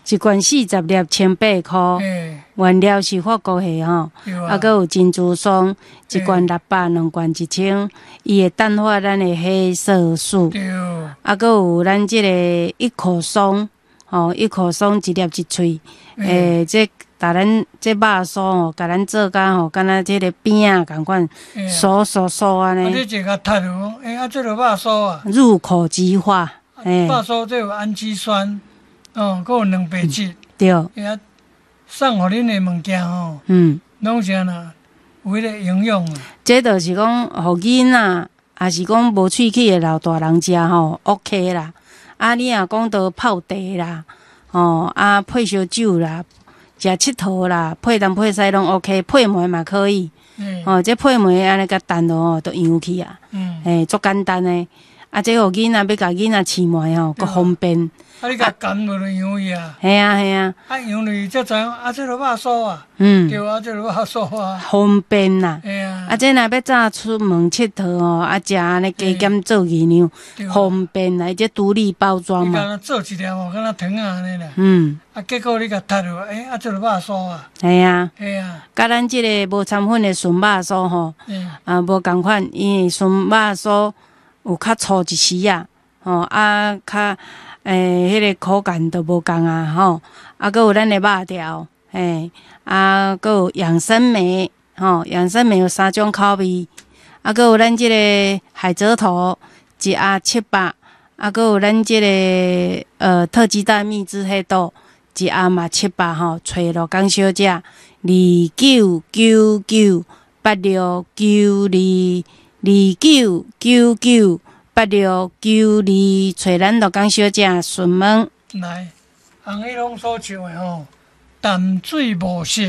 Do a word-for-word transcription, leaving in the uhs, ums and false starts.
一罐四十粒，千八箍。原料是法國蝦吼，啊，閣有珍珠霜，一罐六百，兩罐一千，伊會淡化咱的黑色素。啊，閣有咱這個一口鬆，吼，一口鬆一粒一喙，欸，這共咱這肉酥吼，共咱做甲吼，敢若這个餅仔仝款，酥酥酥按呢。啊，你這共讀落，欸，啊，這个肉酥啊。入口即化，欸。肉酥這有氨基酸，哦，閣有蛋白質。對。欸，送予恁的物件吼，嗯，攏是按怎有彼个營養啊。這就是講，予囡仔，抑是講無喙齒的老大人食吼，OK 啦。啊，你若講到泡茶啦，吼，啊配燒酒啦，食𨑨迌啦，配東配西攏 OK，配糜嘛可以。吼，這配糜按呢共澹落吼，就溶去啊。嘿，足簡單的。啊，這予囡仔欲共囡仔試糜吼，閣方便。啊，你共含落就溶去啊？嘿啊，嘿啊。啊，溶落去才知影，啊，這个肉酥啊。嗯。對啊，這个肉酥啊。方便啦。嘿啊。啊，這若欲早出門𨑨迌吼，啊，食按呢加減做營養，方便啦，這獨立包裝嘛。你敢若做一粒吼，敢若糖仔按呢啦。嗯。啊，結果你共讀落，欸，啊，這个肉酥啊。嘿啊。嘿啊。佮咱這个無摻粉的純肉酥吼，啊，無仝款，因為純肉酥有較粗一絲仔，吼，啊，較欸，彼个口感都無仝啊，吼，啊，閣有咱的肉條，嘿，啊，閣有養生莓，吼，養生莓有三種口味，啊，閣有咱這个海蜇頭一盒七百，啊，閣有咱這个呃特級大蜜汁黑豆一盒嘛七百吼，揣陸江小姐二九九九八六九二二九九九八六九二，揣咱陸江小姐詢問。來，紅彼攏所唱的吼，淡水無色。